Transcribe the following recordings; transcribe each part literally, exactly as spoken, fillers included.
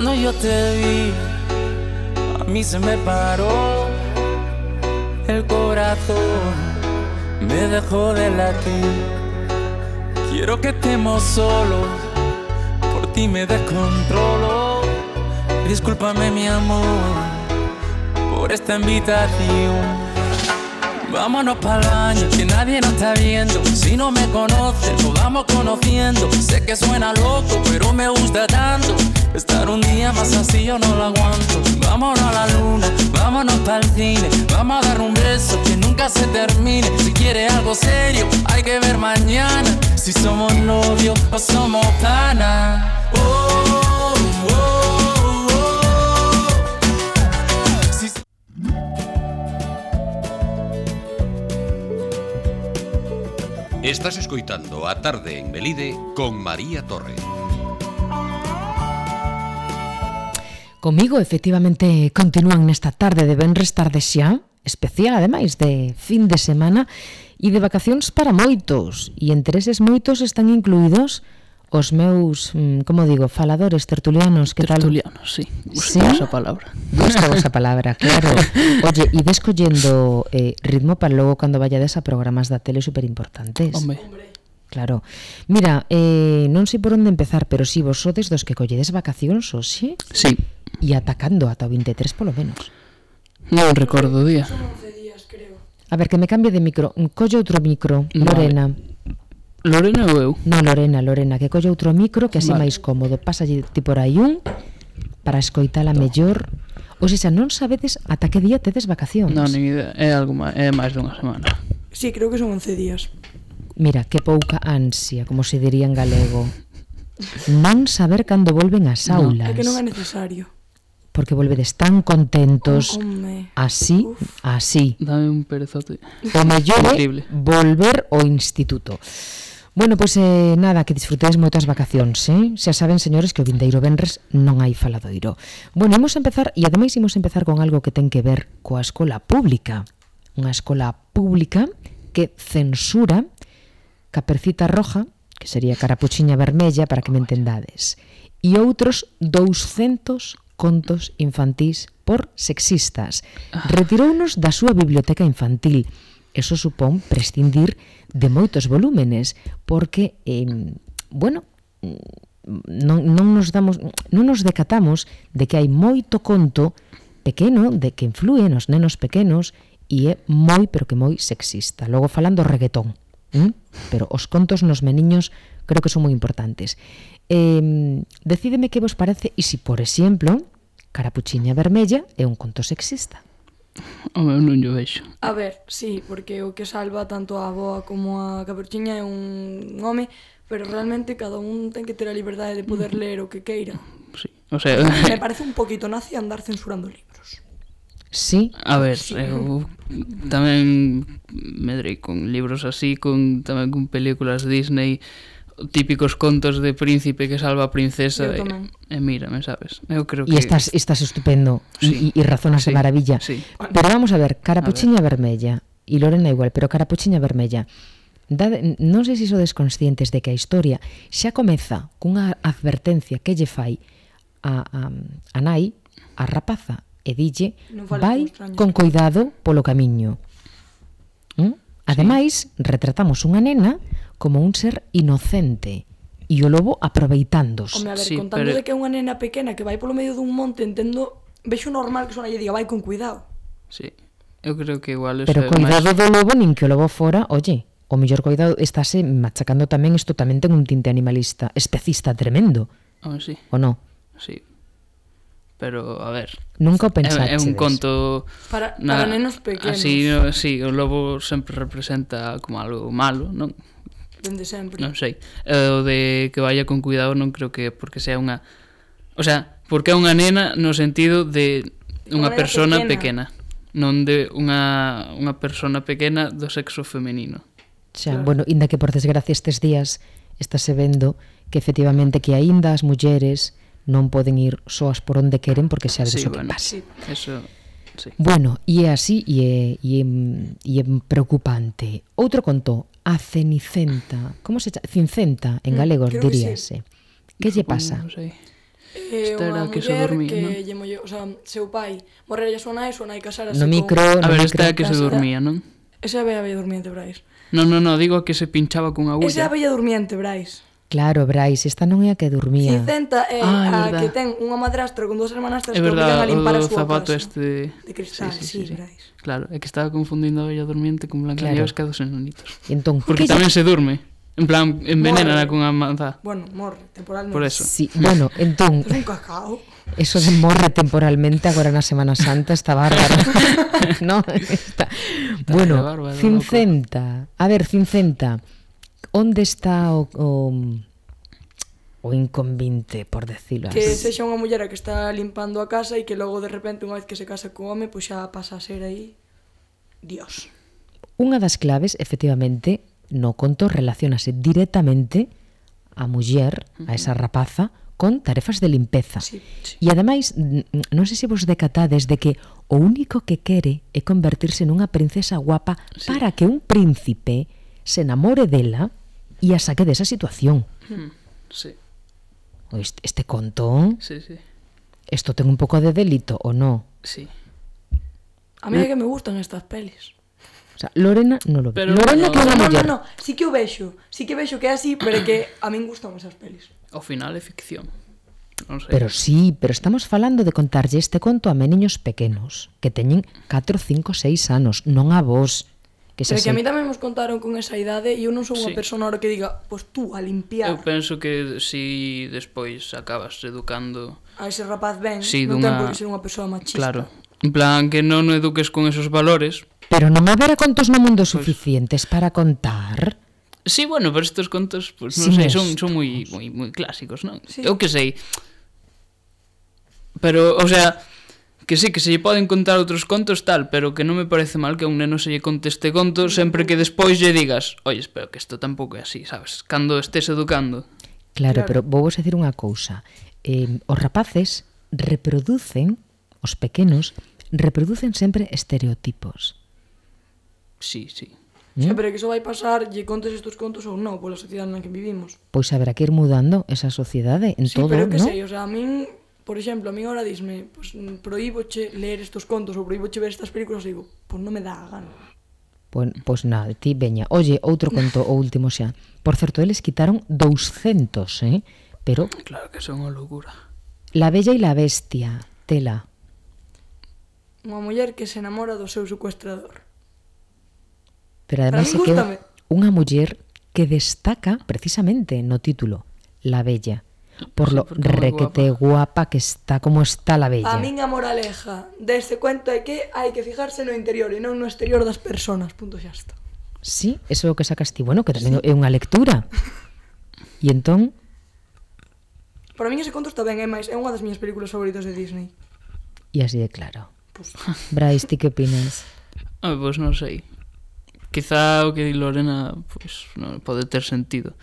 Cuando yo te vi, a mí se me paró el corazón, me dejó de latir. Quiero que estemos solos, por ti me descontrolo. Discúlpame mi amor por esta invitación. Vámonos pa'l baño, que nadie nos está viendo. Si no me conoces, nos vamos conociendo. Sé que suena loco, pero me gusta tanto. Estar un día más así yo no lo aguanto. Vámonos a la luna, vámonos pa'l cine. Vamos a dar un beso que nunca se termine. Si quieres algo serio, hay que ver mañana si somos novios o somos panas. Oh, oh, oh, oh. Si... Estás escoitando A Tarde en Melide con María Torre. Comigo, efectivamente, continúan nesta tarde de venres tarde xa, especial, ademais, de fin de semana e de vacacións para moitos. E entre eses moitos están incluídos os meus, como digo, faladores tertulianos. Que tertulianos, tal? Sí, gusta ¿Sí? esa palabra. Gusta esa palabra, claro. Oye, e ves collendo eh, ritmo para logo cando vayades a programas da tele superimportantes. Hombre. Claro. Mira, eh, non sei por onde empezar, pero si vos sodes dos que colledes vacacións hoxe. Sí. E atacando ata o veintitrés polo menos. Non recordo o día. Son once días, creo. A ver, que me cambie de micro. Colle outro micro, vale. Lorena. Lorena ou eu? Non, Lorena, Lorena, que colle outro micro, que así vale. máis cómodo. Pásalle ti por aí un para escoitala mellor. Ou seja, non sabedes ata que día tedes vacacións. Non, nin idea, é algo máis, é máis dunha semana. Sí, creo que son once días. Mira, que pouca ansia, como se diría en galego. Non saber cando volven as aulas. No, é que non é necesario. Porque volvedes tan contentos. Oh, así, Uf. así. Dame un perezote. O mellor é volver ao instituto. Bueno, pois pues, eh, nada, que disfrutedes moitas vacacións, eh? Xa saben, señores, que o vindeiro venres non hai faladoiro. Bueno, imos empezar, e ademais imos empezar con algo que ten que ver coa escola pública. Unha escola pública que censura Capercita Roja, que sería Carapuchiña Vermella, para que me entendades, e outros douscentos contos infantís por sexistas. Retirounos da súa biblioteca infantil. Eso supón prescindir de moitos volúmenes, porque, eh, bueno, non, non nos damos, non nos decatamos de que hai moito conto pequeno, de que influe nos nenos pequenos, e é moi, pero que moi sexista. Logo falando reggaetón, ¿eh? Pero os contos nos meniños creo que son moi importantes. Eh, decídeme que vos parece, e se, por exemplo, Carapuchiña Vermella é un conto sexista. Home, non yo vexo. A ver, sí, porque o que salva tanto a avoa como a Capuchiña é un home, pero realmente cada un ten que ter a liberdade de poder ler o que queira. Sí, o sea... Me parece un poquito nazi andar censurando libros. Sí. A ver, sí. eu tamén medrei con libros así, con tamén con películas Disney, típicos contos de príncipe que salva a princesa e, e mírame, sabes? Eu creo que... E estás, estás estupendo sí. e razonas sí. de maravilla. Sí. Pero vamos a ver, Carapuchiña a ver. Vermella, e Lorena igual, pero Carapuchiña Vermella, dade, non sei se sodes conscientes de que a historia xa comeza cunha advertencia que lle fai a, a, a nai, a rapaza, e dille, vai con cuidado polo camiño. ¿Mm? Ademais, sí. retratamos unha nena como un ser inocente e o lobo aproveitándose. Home, a ver, sí, contando pero... de que é unha nena pequena que vai polo medio dun monte, entendo, vexo normal que sona lle diga vai con cuidado. Sí, eu creo que igual... Pero cuidado máis... do lobo, nin que o lobo fora, oye, o mellor cuidado estáse machacando tamén, isto tamén ten un tinte animalista, especista tremendo. Oh, sí. O non? Sí. Pero, a ver... Nunca o pensaches. É, é un conto... Para, na, para nenos pequenos. Así, no, sí, o lobo sempre representa como algo malo, non? Dende sempre. Non sei. Eh, o de que vaya con cuidado non creo que porque sea unha... O sea, porque é unha nena no sentido de unha persona pequena. pequena. Non de unha, unha persona pequena do sexo femenino. Xa, claro. Bueno, inda que por desgracia estes días estáse vendo que efectivamente que aínda as mulleres non poden ir soas por onde queren porque xa vedes sí, o que bueno, pasa. Sí, eso, sí. Bueno, e é así e é, e é, e é preocupante. Outro conto, a Cenicienta. Como se chama? Cincenta en galego, mm, diríase. Sí. Que lle pasa? Non sei. Que Esta era unha a que se muller dormía, que non? lle molleu, o sea, seu pai morrera a súa nai, súa nai casarase No con... micro, A no ver, micro. esta é a que se Casa- dormía, non? Esa é a bella bella durmiente, Brais. Non, non, non, digo a que se pinchaba cunha Esa é a agulla. bella durmiente, Brais. Claro, Brais, esta non é a que dormía. Cicenta é Ah, é a verdad. que ten unha madrastra con dúas hermanastras É que obligan verdade, a limpar o a súa zapato casa. este de... De cristal, sí, Brais. Claro, é que estaba confundindo a Bella Durmiente con Blancanieves que a dos enanitos. E entón, Porque que tamén se durme. En plan, envenenana Morre. cunha manzá. Bueno, morre, temporalmente. Por eso. Sí, bueno, entón, Es un cacao. eso de morre temporalmente agora na Semana Santa está bárbaro. No, está. Bueno, bárbaro, Cincenta. A ver, Cincenta. Onde está o o, o inconvinte, por decirlo Que así? sexa unha muller a que está limpando a casa e que logo de repente unha vez que se casa co home, pois xa pasa a ser aí Dios. Unha das claves, efectivamente, no conto relacionase directamente a muller, a esa rapaza, con tarefas de limpeza. Sí. E ademais, n- non sei se vos decatades de que o único que quere é convertirse nunha princesa guapa Sí. para que un príncipe se enamore dela e a saque desa situación. Hmm, sí, O Este, este conto, sí, sí. isto ten un pouco de delito, ou non? Sí. A mí é que me gustan estas pelis. O sea, Lorena non lo ve. Pero Lorena bueno, que é unha No, no, muller. no, sí que o vexo. Sí que vexo que é así, pero é que a min gustan esas pelis. Ao final é ficción. Non sei. Pero sí, pero estamos falando de contarlle este conto a meniños pequenos, que teñen catro, cinco, seis anos, non a vos. Que xa Pero que a sei. mí tamén nos contaron con esa idade e eu non sou unha Sí. persona ahora que diga, pois tú a Eu limpiar penso que si despois acabas educando... a ese rapaz ben, Sí, non ten dunha- por que ser unha persoa machista. Claro. En plan, que non o eduques con esos valores. Pero non haberá contos no mundo suficientes para contar. Sí, bueno, pero estos contos, pues non Sí, sei, son, estos. son moi, moi, moi clásicos, non? Sí. Eu que sei. Pero, o sea, que sí, que se lle poden contar outros contos tal, pero que non me parece mal que a un neno se lle conte este conto sempre que despois lle digas, oye, espero que isto tampouco é así, sabes? Cando estés educando. Claro, Claro. pero vou vos decir unha cousa. Eh, os rapaces reproducen, os pequenos, reproducen sempre estereotipos. Sí, sí. Xa, pero que iso vai pasar, lle contes estos contos ou non, pola sociedade na que vivimos. Pois haberá que ir mudando esa sociedade en Sí, todo, pero que ¿no? sei, o sea, a min, por exemplo, a min ahora disme, pues, prohíboche ler estos contos ou prohíboche ver estas películas, e digo, pois non me dá a gana. Pois, pois nada, ti veña. Oye, outro conto, o último xa. Por certo, eles quitaron douscentos, eh? Pero Claro que son unha loucura. La Bella e la Bestia, tela. Unha muller que se enamora do seu secuestrador. Pero ademais é Para min que é gústame. unha muller que destaca precisamente no título, La Bella. Por Sí, lo porque é moi requete guapa que está como está la Bella. A min a moraleja deste cuento é que hai que fijarse no interior e non no exterior das personas, punto xa está. Sí, eso é o que sacas ti. Bueno, que tamén é unha lectura. E entón, Para min ese conto está ben, é máis, é unha das miñas películas favoritas de Disney. e así de claro. Pues, Brais, ti que opinas? Ah, pois non sei. Quizá o que di Lorena, pois, non pode ter sentido.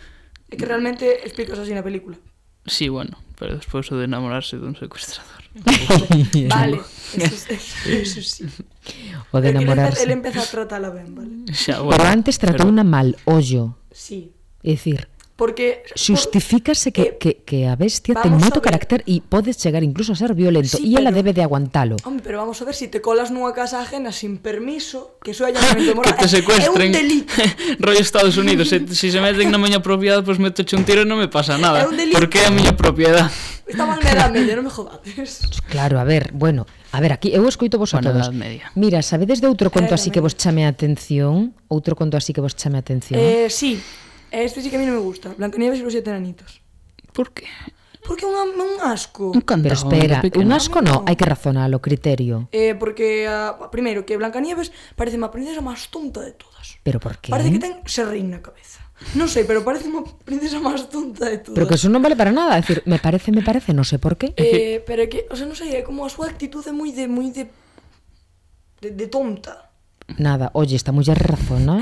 é que realmente explicas así na película. Sí, bueno, pero despois o de enamorarse dun secuestrador. Vale, eso, eso, eso sí. O de Pero que ele enamorarse. empe- Ele empeza a tratala ben, vale? Xa, Pero antes tratou unha mal ollo. Sí. É dicir, Porque... justifícase que, eh, que, que a bestia ten vamos moito a ver. carácter e pode chegar incluso a ser violento Sí, e ela pero- debe de aguantalo. Home, pero vamos a ver, si te colas nunha casa ajena sin permiso, que iso é allanamento Que moral. te É- secuestren. É un delito. Rollo Estados Unidos. Se, si se meten na miña propiedade, pois pues metoche un tiro e non me pasa nada. É un delito. Porque é a miña propiedade. Estaban na edad media, non me jodades. Claro, a ver, bueno, a ver, aquí eu escoito vos a Bueno, todos. Edad Media. Mira, sabedes de outro conto Edad así que Media. vos chame a atención? Outro conto así que vos chame a atención? Eh, sí, este sí que a mí non me gusta. Blancanieves e los siete enanitos. Por que? Porque é un, un asco. Un cantao Pero espera, de pequeno. un asco no, No. hai que razonar o criterio. Eh, porque, uh, primeiro, que Blancanieves parece a princesa máis tonta de todas. Pero por qué? Parece que ten serrín na cabeza. Non sei, pero parece unha princesa máis tonta de todas. Pero que eso non vale para nada, é dicir, me parece, me parece, non sei por qué. Eh, pero é que, o sea, non sei, é como a súa actitude moi de, moi de, de, de tonta. Nada, oye, esta muller razona.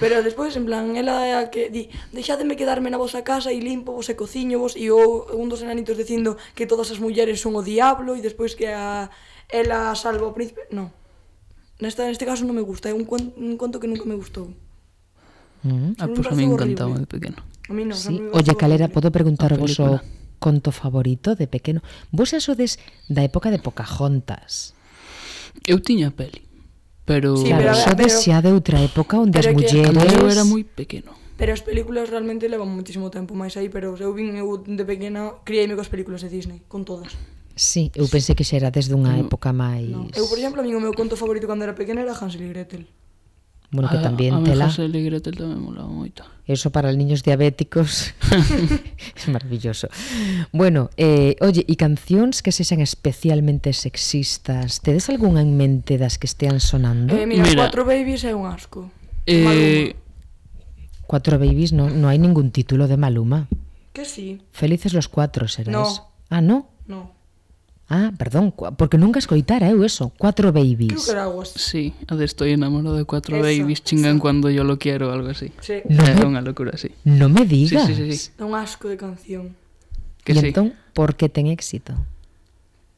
Pero despois, en plan, ela é a que di, deixádeme quedarme na vosa casa e limpo vos e cociño vos, e o, un dos enanitos dicindo que todas as mulleres son o diablo, e despois que a, ela salva o príncipe. Non. Nesta, neste caso non me gusta, é un, cuen- un conto que nunca me gustou. Mm. Ah, Me pois a pareceu mí horrible. encantaba de pequeno. A mí non. Sí, oye, calera, podo preguntar A vos o, película. conto favorito de pequeno? Vos xa sodes da época de Pocahontas. Eu tiña peli, pero... Sí, Claro, pero a ver, sodes pero- xa de outra época onde as pero é que mulleres... Cando eu era moi pequeno. Pero as películas realmente levan moitísimo tempo máis aí, pero eu vin eu de pequena, criei-me coas películas de Disney, con todas. Sí, eu pensei que xa era desde unha No. época máis... No. Eu, por exemplo, a min o meu conto favorito cando era pequena era Hansel e Gretel. Bueno, que tamén a, a tela... A Hansel e Gretel tamén molaba moito. Eso para os niños diabéticos es maravilloso. Bueno, eh, oye, e cancións que sexan especialmente sexistas, tedes algunha en mente das que estean sonando? Eh, mira, Mira. Cuatro Babies é un asco. Eh, Cuatro babies, no, no hai ningún título de Maluma. Que sí. Felices los cuatro, será No. eso. Ah, no? No. Ah, perdón, cua- porque nunca escoitara eu eso. Cuatro Creo babies. que era algo así. sí, a de estoy enamorado de cuatro Esa, babies, chingan esa. cuando yo lo quiero, algo así. Sí. No É me- unha locura, sí. No me Sí, digas. sí, sí, sí. É un asco de canción. Que E sí. entón, por que ten éxito?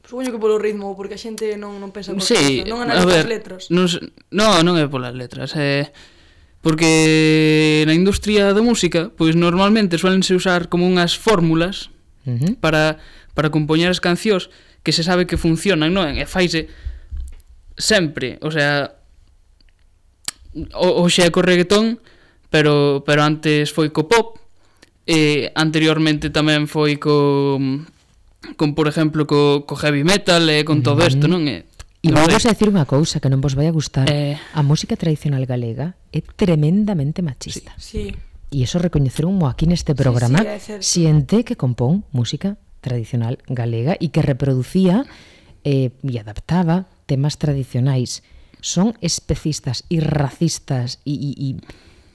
Supoño que polo ritmo, porque a xente non, non pensa coa Sí, cabeza, non a analiza ver, as letras. Non, se- no, non é polas letras, é porque na industria da música, pois normalmente suelense usar como unhas fórmulas Uh -huh. para para compoñer as cancións que se sabe que funcionan, non? E faise sempre, o sea, o, o xe é co reggaetón, pero pero antes foi co pop, e anteriormente tamén foi co con, por exemplo, co, co heavy metal e con todo isto, non? E E non vamos sei. a decir unha cousa que non vos vai a gustar. Eh. A música tradicional galega é tremendamente machista. Sí. E iso recoñeceron aquí neste programa. sí, é certo. Xente que compón música tradicional galega e que reproducía eh, e adaptaba temas tradicionais. Son especistas e racistas e, e, e,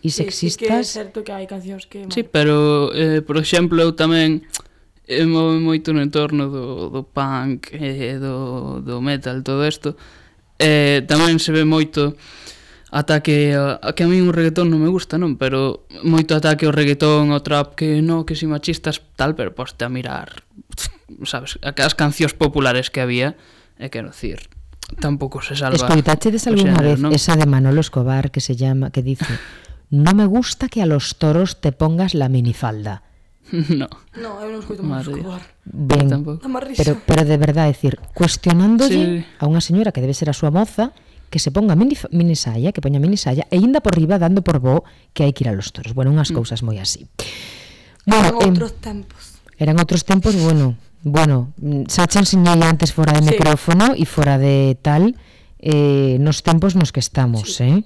e Sí, sí que é sexistas. certo que hai cancións que... Sí, pero, eh, por exemplo, eu tamén eh, move moito no entorno do, do punk e eh, do, do metal, todo isto. Eh, tamén se ve moito ataque a, a que a mí un reggaetón non me gusta, non? Pero moito ataque ao reggaetón, ao trap, que no, que si machistas tal, pero poste a mirar, sabes, as cancións populares que había, e quero dicir, tampouco se salva. Escoitachedes o algunha xénero, vez non? esa de Manolo Escobar que se llama, que dice: "No me gusta que a los toros te pongas la minifalda"? No. No, eu non escoito máis Madre Escobar. Ben, tampouco. Dá máis risa. pero, pero de verdade, decir, cuestionándolle Sí. a unha señora que debe ser a súa moza que se ponga mini, minisalla, que poña minisalla e inda por riba dando por bo que hai que ir a los toros. Bueno, unhas Mm. cousas moi así. Eran Bueno, em, outros tempos. eran outros tempos, bueno, bueno, mm, xa che enseñei antes fora de Sí. micrófono e fora de tal, eh, nos tempos nos que estamos, eh,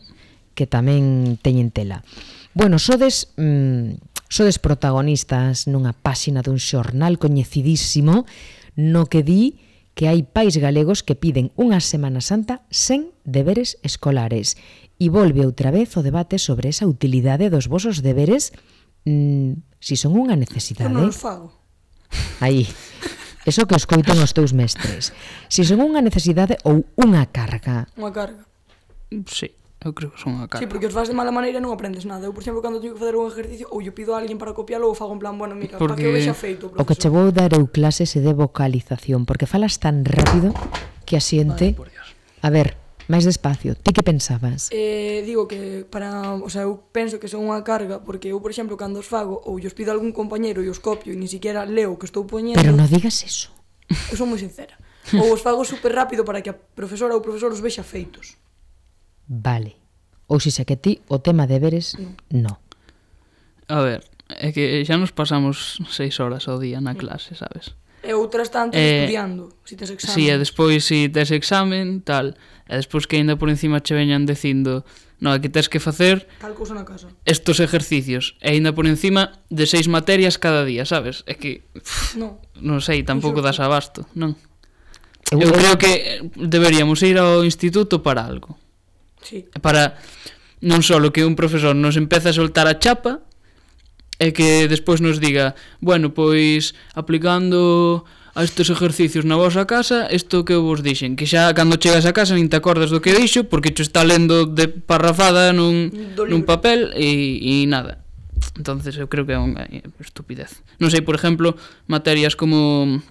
que tamén teñen tela. Bueno, sodes mm, sodes protagonistas nunha páxina dun xornal coñecidísimo no que di que hai pais galegos que piden unha Semana Santa sen deberes escolares. E volve outra vez o debate sobre esa utilidade dos vosos deberes, mm, si son unha Eu necesidade. non os fago. Aí, eso que escoitan os teus mestres. Si son unha necesidade ou unha carga. Unha carga. Sí, eu creo que son unha carga. Sí, porque os faz de mala maneira e non aprendes nada. Eu, por exemplo, cando teño que fazer un ejercicio, ou yo pido a alguén para copialo, ou fago en plan, bueno, mira, para Porque que o vexa feito, O que che profesor. vou dar eu clases é de vocalización, porque falas tan rápido que a xente... Por Dios. A ver, máis despacio, ti que pensabas? Eh, digo que para, o sea, eu penso que son unha carga, porque eu, por exemplo, cando os fago, ou os pido a algún compañeiro e os copio e ni siquiera leo o que estou poñendo, Pero non digas eso. eu son moi sincera. Ou os fago super rápido para que a profesora ou o profesor os vexa feitos. Vale. Ou se xa que ti o tema deberes, no. A ver, é que xa nos pasamos seis horas ao día na clase, sabes? E outras tantas Eh, estudiando, si tes examen. Si, e despois si tes examen, tal, e despois que ainda por encima che veñan dicindo, no, é que tes que facer Tal cousa na casa. estos ejercicios, e ainda por encima de seis materias cada día, sabes? É que, pff, No. non sei, tampouco das abasto, non? Eu, Eu creo que deberíamos ir ao instituto para algo. Sí. Para non só que un profesor nos empeza a soltar a chapa e que despois nos diga, bueno, pois aplicando a estes exercicios na vosa casa, isto que eu vos dixen, que xa cando chegas a casa nin te acordas do que dixo porque te está lendo de parrafada nun, Do nun libro. papel e, e nada. Entonces eu creo que é unha estupidez. Non sei, por exemplo, materias como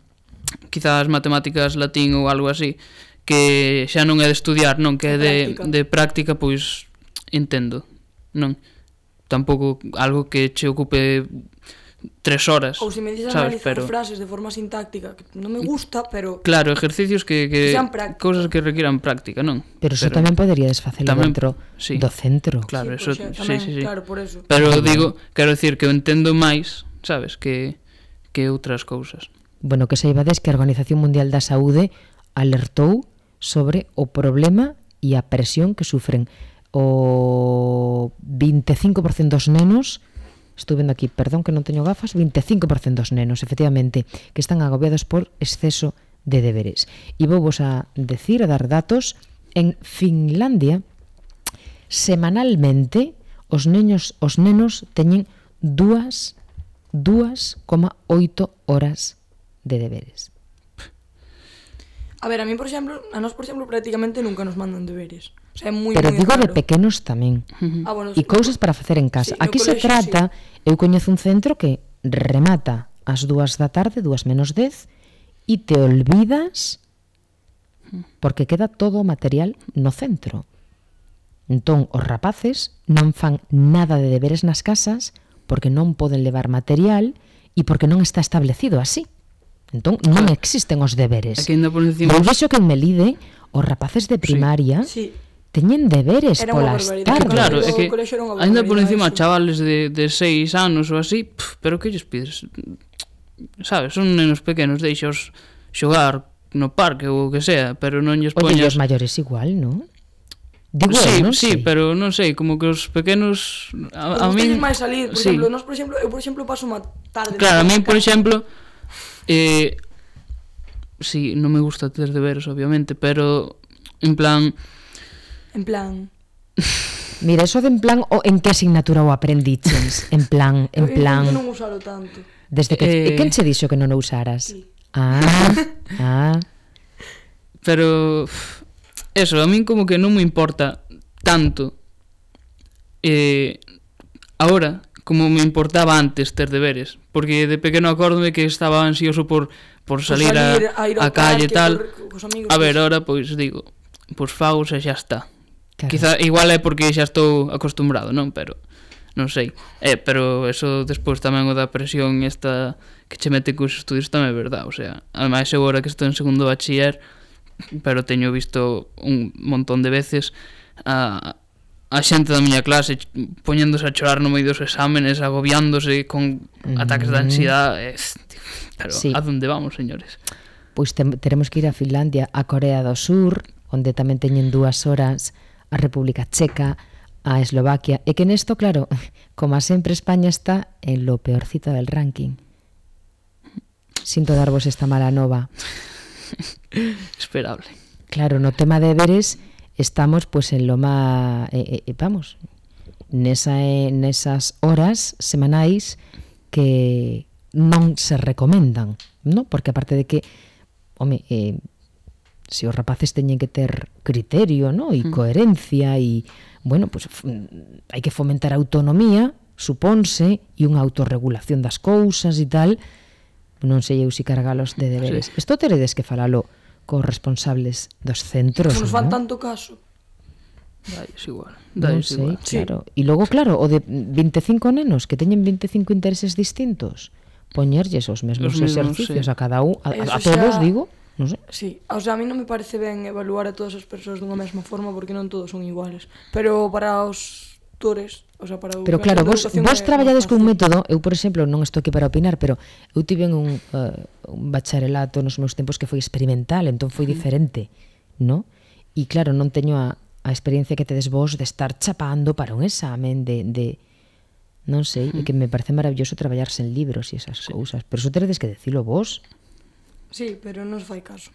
quizás matemáticas, latín ou algo así, que xa non é de estudiar, non, que é de práctica. de práctica, pois entendo, non? Tampouco algo que che ocupe tres horas, Ou se me dices sabes, analizar pero frases de forma sintáctica, que non me gusta, pero claro, ejercicios que, que, Que sean prácticos. cousas que requieran práctica, non? Pero iso tamén poderías facelo tamén- dentro sí. do centro. Claro, sí, eso, pois, sí, tamén, sí, sí. claro, por eso. Pero digo, quero decir que eu entendo máis, sabes, que que outras cousas. Bueno, que saibades que a Organización Mundial da Saúde alertou sobre o problema e a presión que sufren o veinticinco por ciento dos nenos, estou vendo aquí, perdón que non teño gafas, veinticinco por ciento dos nenos, efectivamente, que están agobiados por exceso de deberes. E vou vos a decir, a dar datos, en Finlandia, semanalmente, os neños, os nenos teñen dúas, dúas coma oito horas de deberes. A ver, a mí, por exemplo, a nós, por exemplo, prácticamente nunca nos mandan deberes. O sea, é moi, Pero moi digo de raro. pequenos tamén. Ah, bueno, E cousas para facer en casa. Sí, no Aquí se colexio, trata, eu coñezo un centro que remata ás dúas da tarde, dúas menos dez, e te olvidas porque queda todo o material no centro. Entón, os rapaces non fan nada de deberes nas casas porque non poden levar material e porque non está establecido así. Entón, non existen os deberes. Aquí ainda por encima Eu vexo que en Melide os rapaces de primaria Sí. teñen deberes Era unha polas barbaridade. tardes. Claro, é O que colexio era unha ainda por barbaridade, encima eso. chavales de, de seis anos ou así, pff, pero que lles pides? Sabes, son nenos pequenos, deixaos xogar no parque ou o que sea, pero non lles Oye, e poñas... os maiores igual, non? Digo, sí, eu non sí, sei. pero non sei, como que os pequenos a, a Nos min gusta máis salir, por sí. exemplo, nós, por exemplo, eu, por exemplo, paso unha tarde... Claro, a na min, por casa. exemplo, eh, sí, non me gusta ter deberes, obviamente, pero en plan, En plan... Mira, eso de en plan, o en que asignatura o aprendiches? En plan, en eu plan... intento non usalo tanto. Desde que... Eh, Eh... Quen che dixo que non o usaras? Sí. Ah, ah... pero uf, eso, a min como que non me importa tanto eh, ahora como me importaba antes ter deberes, porque de pequeno acórdome que estaba ansioso por, por salir, salir a, a ir ao a calle e parque, tal. por- cos amigos, A ver, pois. ahora pois digo, pois fagos e xa está. Claro. Quizá igual é porque xa estou acostumbrado, non? Pero non sei. Eh, pero eso despois tamén o da presión esta que che mete cos estudios tamén é verdade, o sea, ademais eu agora que estou en segundo bachiller, pero teño visto un montón de veces a a xente da miña clase poñéndose a chorar no medio dos exámenes, agobiándose con ataques de ansiedade. Pero Sí. a donde vamos, señores? Pois te, teremos que ir a Finlandia, a Corea do Sur, onde tamén teñen dúas horas, a República Checa, a Eslovaquia, e que nesto, claro, como a sempre España está en lo peorcito del ranking. Sinto darvos esta mala nova. Esperable. Claro, no tema de deberes estamos pues en lo má eh, eh, vamos, nesa, eh, nesas horas semanais que non se recomendan, ¿no? Porque aparte de que, home, eh, se os rapaces teñen que ter criterio, ¿no? E coherencia e, bueno, pues hai que fomentar a autonomía, supónse, e unha autorregulación das cousas e tal, non sei eu si cargalos de deberes. Sí. Isto teredes que falalo cos responsables dos centros, Nos fan ¿no? tanto caso. Dais igual. Non Dais sei, igual. claro. E logo, claro, o de veinticinco nenos que teñen veinticinco intereses distintos, poñerlles os mesmos Os mesmos, exercicios sí. a cada un, a, Eso a todos, xa- digo, non sei. Sí, o sea, a mí non me parece ben evaluar a todas as persoas dunha mesma forma porque non todos son iguales. Pero para os tutores, o sea, para o Pero que claro, a vos, educación vos é traballades máis cun fácil. método, eu, por exemplo, non estou aquí para opinar, pero eu tive un, uh, un bacharelato nos meus tempos que foi experimental, entón foi diferente, ¿no? E claro, non teño a, a experiencia que tedes vos de estar chapando para un examen, de, de non sei, e que me parece maravilloso traballarse en libros e esas cousas, pero iso teredes que decilo vos. Sí, pero non se fai caso.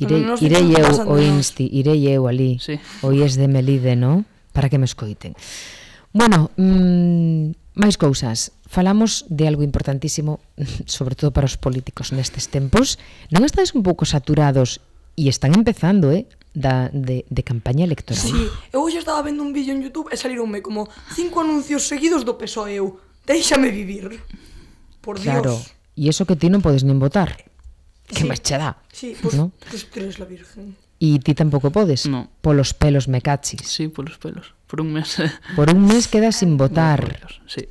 Irei, Non nos irei ficamos eu pasando o nós. Insti, irei eu ali, Sí. o I E S de Melide, ¿no? Para que me escoiten. Bueno, mmm, máis cousas. Falamos de algo importantísimo, sobre todo para os políticos nestes tempos. Non estades un pouco saturados e están empezando, eh, da, de, de campaña electoral? Sí, eu hoxe estaba vendo un vídeo en YouTube e salironme como cinco anuncios seguidos do P S O E. Eu, déixame vivir. Por Claro, Dios. e eso que ti non podes nin votar. Que Sí. máis che dá? Sí, pues, ¿No? pues tú eres la virgen. E ti tampouco podes? No. Polos pelos me cachis. Sí, polos pelos. Por un mes. Por un mes quedas sin votar. Sí.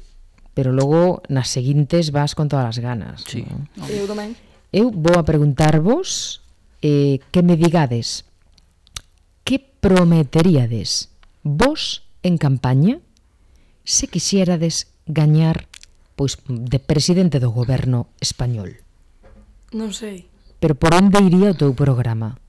pero logo nas seguintes vas con todas as ganas. Sí. Non? Eu tamén. Eu vou a preguntarvos eh, que me digades que prometeríades vos en campaña se quixérades gañar pois de presidente do goberno español. Non sei. Pero por onde iría o teu programa?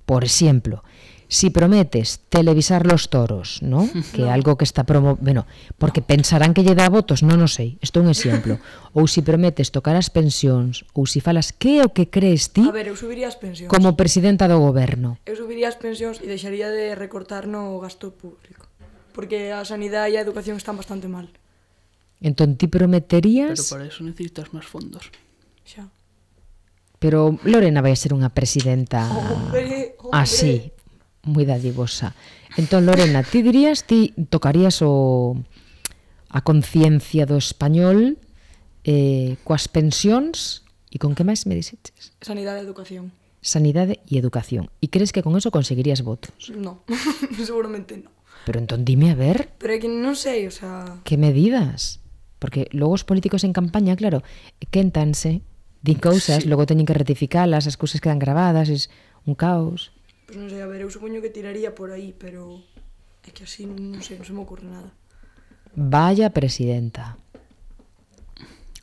Por exemplo, si prometes televisar los toros, ¿no? Que é algo que está promo... Bueno, porque pensarán que lle dá votos, non o sei, isto é un exemplo. Ou si prometes tocar as pensións, ou si falas que é o que crees ti A ver, eu subiría as pensións. como presidenta do goberno. Eu subiría as pensións e deixaría de recortar no gasto público. Porque a sanidade e a educación están bastante mal. Entón ti Pero prometerías... para eso necesitas máis fondos. Xa. Pero Lorena vai ser unha presidenta Hombre, hombre. así, moi dadivosa. Entón, Lorena, ti dirías, ti tocarías o a conciencia do español eh, coas pensións e con que máis me dixeches? Sanidade e educación. Sanidade e educación. E crees que con eso conseguirías votos? No, seguramente no. Pero entón dime a ver, Pero é que non sei, o sea... que medidas? Porque logo os políticos en campaña, claro, quéntanse, din cousas, Sí. logo teñen que rectificalas, as cousas quedan grabadas, es un caos. Pois non sei, a ver, eu supoño que tiraría por aí, pero... É que así, non sei, non se me ocurre nada. Vaya presidenta.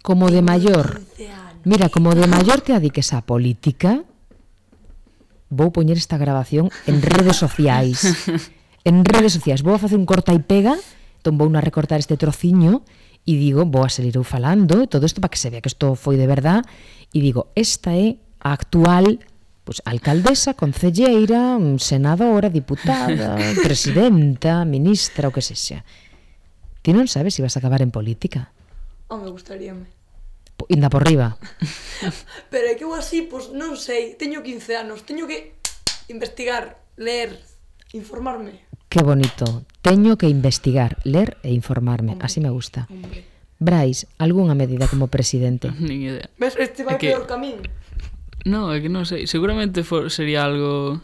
Como de maior, quince anos. mira, como de maior te adiques á política, vou poñer esta grabación en redes sociais. En redes sociais, vou a facer un corta e pega, entón vou a recortar este trociño e digo, vou a salir eu falando, todo isto para que se vea que isto foi de verdad, e digo, esta é a actual pues, alcaldesa, concelleira, senadora, diputada, presidenta, ministra, o que sexa. Ti non sabes se vas a acabar en política. Oh, me gustaríame. Po- Inda por riba. Pero é que eu así, pois non sei, teño quince anos, teño que investigar, ler, informarme. Qué bonito. Teño que investigar, ler e informarme. Hombre. Así me gusta. Hombre. Brais, algunha medida como presidente? Nin idea. Ves, este vai É que- peor que a min. No, é que non sei, seguramente for, sería algo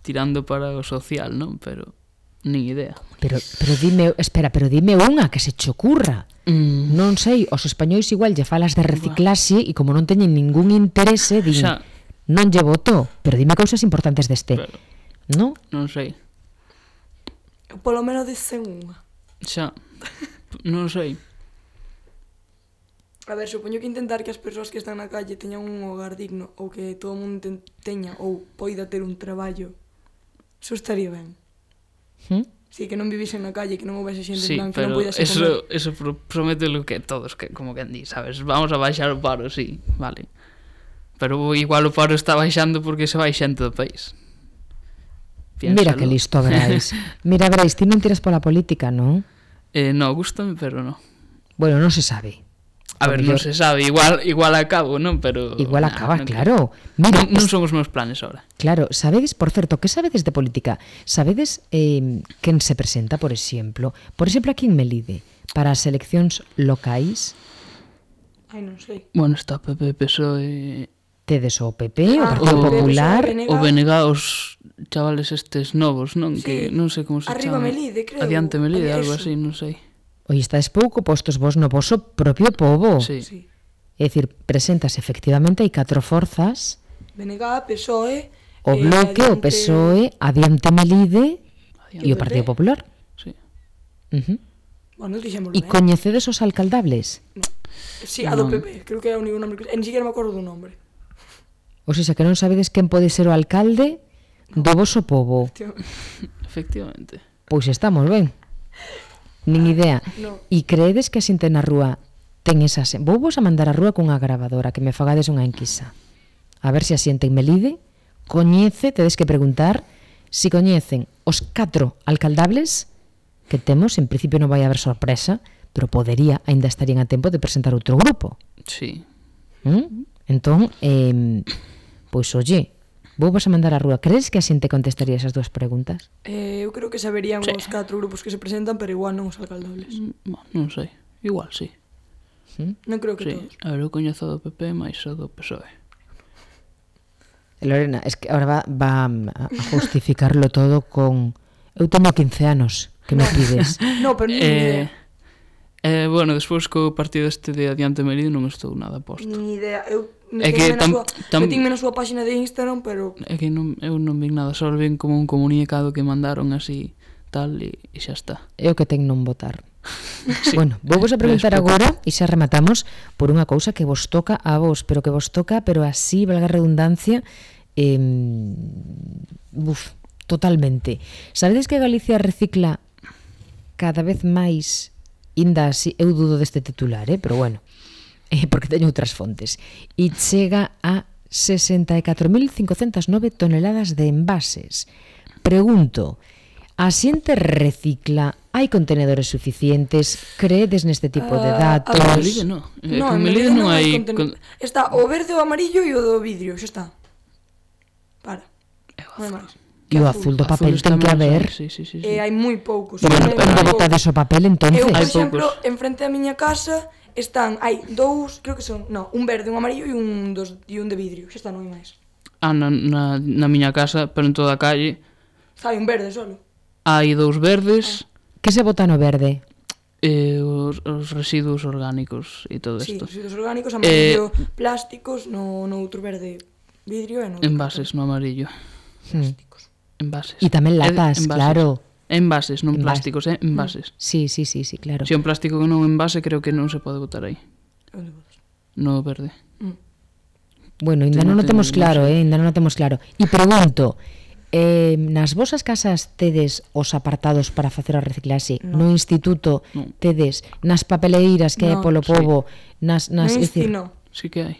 tirando para o social, non? Pero nin idea. Pero, pero dime, espera, pero dime unha que se che ocurra. Mm. Non sei, os españois igual lle falas de reciclaxe e como non teñen ningún interese, din, Xa. non lle voto, pero dime cousas importantes deste. Pero, No? non sei. Polo menos dicen unha. Xa, non sei. A ver, supoño que intentar que as persoas que están na calle teñan un hogar digno ou que todo o mundo ten- teña ou poida ter un traballo. Eso estaría ben. ¿Mm? Si, que non vivisen na calle, que non houvese xente Sí, en plan que non pero poidase eso, comer. eso pro- promete lo que todos, que como que di, sabes? Vamos a baixar o paro, sí, vale. Pero igual o paro está baixando porque se vai xente do país. Mira Piénsalo. que listo, Brais. Mira, Brais, ti non tiras pola política, non? Eh, no, gustame, pero no. Bueno, non se sabe. A ver, Porque non se sabe, igual igual acabo, non? Pero Igual nah, acaba, non claro. creo. Mira, non, non es- son os meus planes ahora. Claro, sabedes, por certo, que sabedes de política? Sabedes eh, quen se presenta, por exemplo? Por exemplo, aquí en Melide, para as eleccións locais, Ai, non sei. Bueno, está P P, P S O E, tedes o P P, o Ah, Partido o- Popular, P N G. o B N G, os chavales estes novos, non? Sí. Que non sei como se Arriba chama. Melide, creo. Adiante Melide, Había algo eso. así, non sei. Oi, estáis pouco postos vos no voso propio pobo. Sí. Sí. É dicir, presentas efectivamente hai catro forzas, B N G, P S O E... o eh, Bloque, o P S O E, Adiante Melide Adiante. e o Partido Popular. Sí. Uh -huh. Bueno, dixémoslo E ben. coñecedes os alcaldables? Sí, a do Non. P P, creo que é o único nombre que... En siquiera me acordo do nombre. Ou seja, que non sabedes quen pode ser o alcalde do voso pobo. Tío, Efectivamente. Pois estamos ben. Nin idea. No. E creedes que a xente na rúa ten esas... Vou vos a mandar a rúa cunha gravadora que me fagades unha enquisa. A ver se a xente en Melide coñece, tedes que preguntar se si coñecen os catro alcaldables que temos. En principio non vai haber sorpresa, pero podería, aínda estarían a tempo de presentar outro grupo. Sí. ¿Mm? Entón, eh, pois oye, vou vos a mandar a rúa. Crees que a xente contestaría esas dúas preguntas? Eh, eu creo que saberían Sí. os catro grupos que se presentan, pero igual non os alcaldables. Mm, bueno, non sei. Igual, sí. Non creo que Sí. todos. A ver, eu coñezo do P P máis o do P S O E. Lorena, es que ahora va, va a justificarlo todo con... Eu teño quince anos, que me pides? No, pero nin Eh, idea. Eh, bueno, despois co partido este de Adiante Melide non estou nada posto. Ni idea. Eu É que metinme na tam- súa, tam- metinme na súa página de Instagram, pero É que non, eu non vi nada, só vi como un comunicado que mandaron así tal e, e xa está. É o que ten non votar. Sí. Bueno, vou vos a preguntar Despois- agora e xa rematamos por unha cousa que vos toca a vos, pero que vos toca, pero así, valga a redundancia, eh, buf, totalmente. Sabedes que Galicia recicla cada vez máis, inda así, eu dudo deste titular, eh, pero bueno, eh, porque teño outras fontes, e chega a sesenta e catro mil cincocentas nove toneladas de envases. Pregunto, a xente recicla? Hai contenedores suficientes? Creedes neste tipo de Ah, a datos? ver, Melide non. Eh, no, que en Melide Melide non hai conten- con- Está o verde, o amarillo e o do vidrio, xa está. Para. Non hai máis. E o azul do papel Azul está ten que máis, haber. Sí, sí, sí, sí. E hai moi poucos. Bueno, Hai onde moi botades o papel entonces? Eu, por Hai exemplo, poucos. en frente da miña casa están, hai dous, creo que son, no, un verde, un amarillo e un dos e un de vidrio. Xa está, non hai máis. Ah, na, na, na miña casa, pero en toda a calle, Hai un verde solo. hai dous verdes Que se bota no verde? e os, os residuos orgánicos e todo Sí, isto. residuos orgánicos, amarillo, plásticos, no, no outro verde, vidrio e no outro Envases no amarillo. Hmm. Envases. E tamén É de- latas, envases. claro. Envases, non Envases. plásticos, eh? Envases. Sí, sí, sí, sí, claro. Se é un plástico que non envase, creo que non se pode botar aí. Onde botas? No verde. Bueno, ainda Te non o non teño- temos non claro, sei. eh, ainda non o temos claro. E pregunto, eh, nas vosas casas tedes os apartados para facer a reciclaxe? No, no instituto No. tedes? Nas papeleiras que hai No, polo sí. pobo? Nas, nas, No é dicir, insti, no. Sí que hai.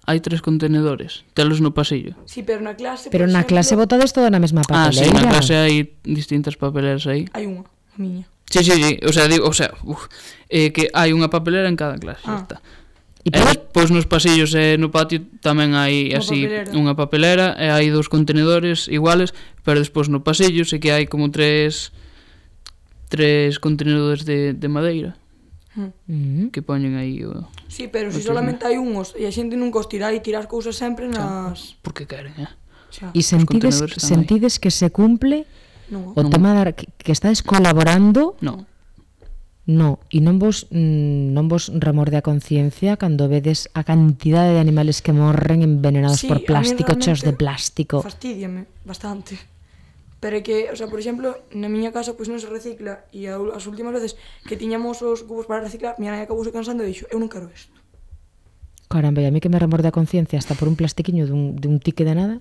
Hai tres contenedores. Telos no pasillo. Sí, pero na clase, pero por na exemplo, clase botades toda na mesma Ah, sí, papeleira. na clase hai distintas papeleras aí. hai unha, a miña. Sí, sí, sí. O sea, digo, o sea, uf, eh, que hai unha papelera en cada clase, Ah. xa está. E E pero, despois nos pasillos e no patio tamén hai Unha así papelera. unha papelera e hai dous contenedores iguales, pero despois no pasillo sí que hai como tres tres contenedores de, de madeira mm, que poñen aí o... Sí, pero se Outros solamente hai unhos e a xente nunca os tira e tirar as cousas sempre nas... Porque queren, eh? Xa, e sentides, contenedores están aí. sentides que se cumple non. o Non. tema da, que, que estades colaborando? No. No, e non vos mm, non vos remorde a conciencia cando vedes a cantidade de animales que morren envenenados Sí, por a mí plástico, cheos de realmente plástico. Fastídiame bastante. Pero é que, o sea, por exemplo, na miña casa pois non se recicla e a, as últimas veces que tiñamos os cubos para reciclar, miña nai acabouse cansando e dixo, eu non quero isto. Caramba, e a mí que me remorde a conciencia hasta por un plastiquiño dun, dun tique de nada.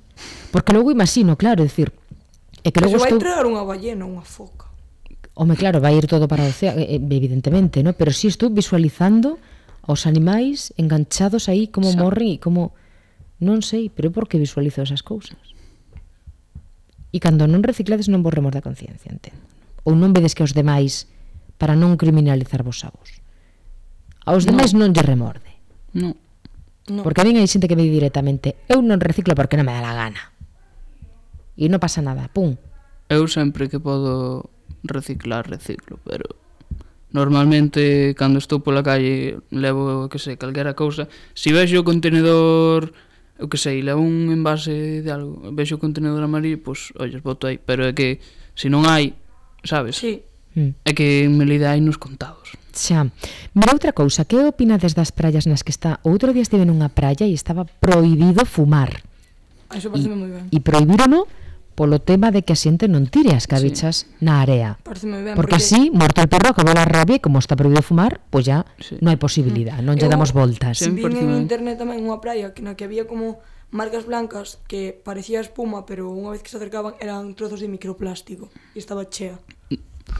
Porque logo imagino, claro, é dicir, é que Que logo se vai estou... traer unha ballena, unha foca. Home, claro, vai ir todo para o océano, eh, evidentemente, ¿no? Pero si sí estou visualizando aos animais enganchados aí, como Xa. morren e como... Non sei, pero é porque visualizo esas cousas. E cando non reciclades non vos remorde a conciencia, entendo. Ou non vedes que aos demais, para non criminalizar vos a vos. Aos No. demais non lle remorde. No. No. Porque a min hai xente que me di directamente, eu non reciclo porque non me dá la gana. E non pasa nada, pum. Eu sempre que podo reciclar, reciclo, pero normalmente cando estou pola calle levo, que sei, calquera cousa. Si vexo o contenedor, eu que sei, levo un envase de algo, vexo o contenedor amarillo, pois, olles, boto aí, pero é que se non hai, sabes? Sí. Mm. É que en Melide hai nos contados. Xa. Mira outra cousa, que opinades das praias nas que está? Outro día estive nunha praia e estaba prohibido fumar. A Iso parece moi ben. E prohibirono polo tema de que a xente non tire as cabichas sí. na area. Parece moi ben. Porque así, muerto el perro, acabou la rabia e como está prohibido fumar, pois ya Sí. non hai posibilidad, non lle Eu- damos voltas. Sí. Vin parece en ben. internet tamén unha praia que na que había como marcas blancas que parecía espuma, pero unha vez que se acercaban eran trozos de microplástico e estaba chea.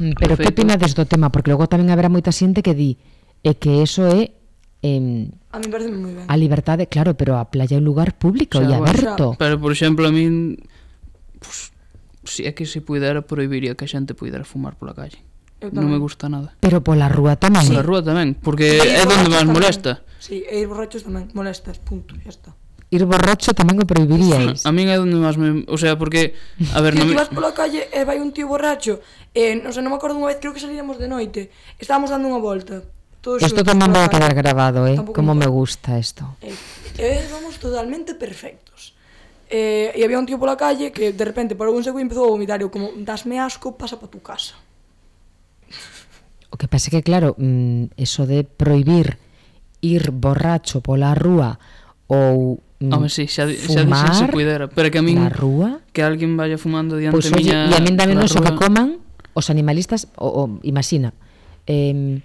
Mm, Pero que Perfecto. opinades do tema? Porque logo tamén haberá moita xente que di é que eso é eh, A mí parece moi ben. a liberdade, claro, pero a playa é un lugar público O e sea, bueno, aberto. Pero, por exemplo, a min, pues, si é que se puidera, prohibiría que a xente puidera fumar pola calle. Eu Non tamén. me gusta nada. Pero pola rúa tamén. Pola rúa tamén, porque E é ir donde borrachos máis tamén. molesta. Sí, e ir borrachos tamén, molestas, punto, xa está. Ir borracho tamén o prohibiríais. A min é donde máis me... O sea, porque... A ver, Que non ti me... vas pola calle e vai un tío borracho e, non sei, non me acordo unha vez, creo que salíamos de noite, estábamos dando unha volta. Todos Isto xuntos tamén pola vai a calle. quedar grabado, eh? Tampouco Como me me gusta isto. E, e vamos totalmente perfectos. E, e había un tío pola calle que de repente parou un seco e empezou a vomitar. E eu como, dasme asco, pasa pa tu casa. O que pasa que, claro, mm, eso de prohibir ir borracho pola rúa ou mm, Home, sí, xa, xa fumar dixen se puidera, pero que a min na rúa, que alguén vaya fumando diante pois, pues, miña e a min dame na no que rúa. coman os animalistas, o, o imagina, eh,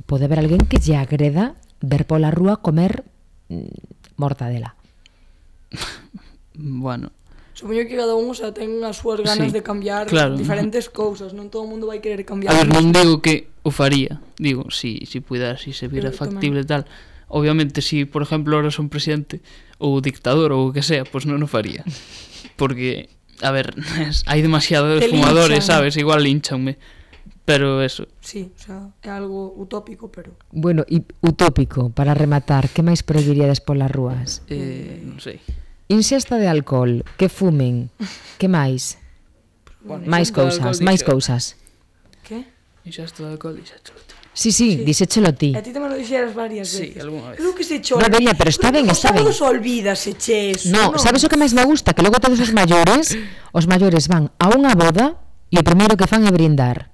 pode haber alguén que lle agreda ver pola rúa comer mm, mortadela. Bueno, Supoño que cada un, o sea, ten as súas ganas Sí, de cambiar claro. diferentes cousas, non todo o mundo vai querer cambiar. a ver, o non mismo. digo que o faría, digo, si, si puidera, si se vira Eu factible e tal. Obviamente, si, por exemplo, ahora son presidente ou dictador ou o que sea, pois pues non o faría. Porque, a ver, hai demasiados Te fumadores, linchan. sabes? Igual linchanme. Pero eso, Sí, o sea, é algo utópico, pero... Bueno, e utópico, para rematar, que máis prohibiríades polas rúas? eh, non sei. Inxesta de alcohol, que fumen, que máis? Bueno, máis cousas, máis cousas. Que? E xa está de alcohol, e xa chulo. Sí, sí, Sí. dísechelo ti. A ti tamén lo dixeras varias Sí, veces. algunha vez. Creo que se cho... No, veña, pero está ben, está ben. Os sábados olvídase, che, eso, No, sabes o que máis me gusta? Que logo todos os maiores, os maiores van a unha boda e o primeiro que fan é brindar.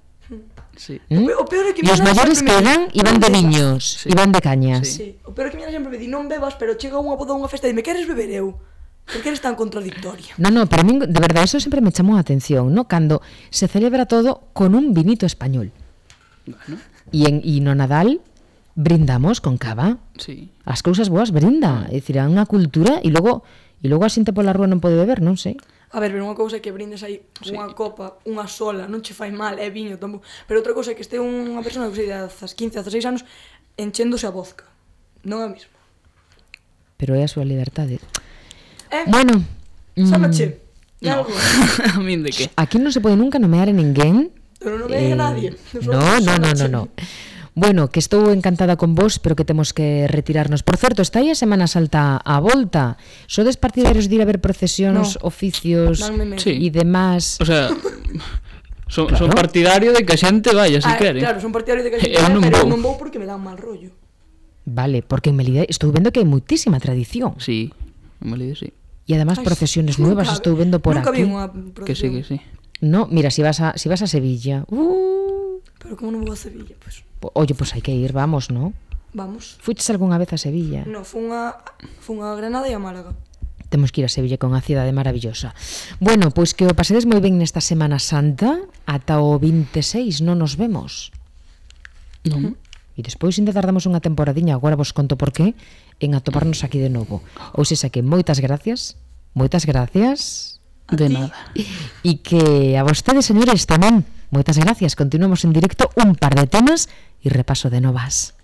Sí. ¿Mm? O peor é que E os mi nana maiores sempre me di, quedan e van "Non de bebas". viños, Sí. e van de cañas. Sí. Sí, o peor é que mi nana sempre me di, non bebas, pero chega unha boda ou unha festa e dime, queres beber eu? Por que eres tan contradictoria? No, no, para min, de verdade, eso sempre me chamou a atención, ¿no? Cando se celebra todo con un vinito español. Bueno, E, en, e no Nadal brindamos con cava. sí. As cousas boas brinda. É dicir, é unha cultura e logo e logo a xente pola rúa non pode beber, non sei. A ver, pero unha cousa é que brindes aí Sí. unha copa, unha sola, non che fai mal, é viño tampouco. Pero outra cousa é que este unha persona que sei de dezas quince, dezaseis anos enchéndose a vodka. Non é o mismo. Pero é a súa liberdade. Eh, Bueno, Sámache. É No. algo. A min de que? aquí non se pode nunca nomear a ninguén. Pero non me diga nadie. No, no, no, no, no. Bueno, que estou encantada con vos, pero que temos que retirarnos. Por certo, está aí a Semana Santa a volta. Sodes partidarios de ir a ver procesións, No. oficios Danme medo. Sí. e demás? O sea, son, Claro. son partidario de que a xente vaya, se Ah, quere. claro, son partidario de que Eu non pero vou. non vou porque me dan mal rollo. Vale, porque en Melide estou vendo que hai moitísima tradición. Sí, en Melide sí. E además Ai, procesiones nunca nuevas vi- estou vendo por nunca aquí. vi unha Que sí, procesión. que sí. No, mira, si vas a si vas a Sevilla. Uh, Pero como non vou a Sevilla, pues po- oye, pues hai que ir, vamos, ¿no? vamos. Fuches algunha vez a Sevilla? No, fun a fun a Granada e a Málaga. Temos que ir a Sevilla, con a cidade maravillosa. Bueno, pois que o pasedes moi ben nesta Semana Santa. Ata o veintiséis non nos vemos. Non. E despois ainda tardamos unha temporadiña, agora vos conto por qué, en atoparnos aquí de novo. Ou sexa que moitas gracias, moitas gracias, De ti? nada. e que a vostedes, señores, tamén, moitas gracias. Continuamos en directo un par de temas e repaso de novas.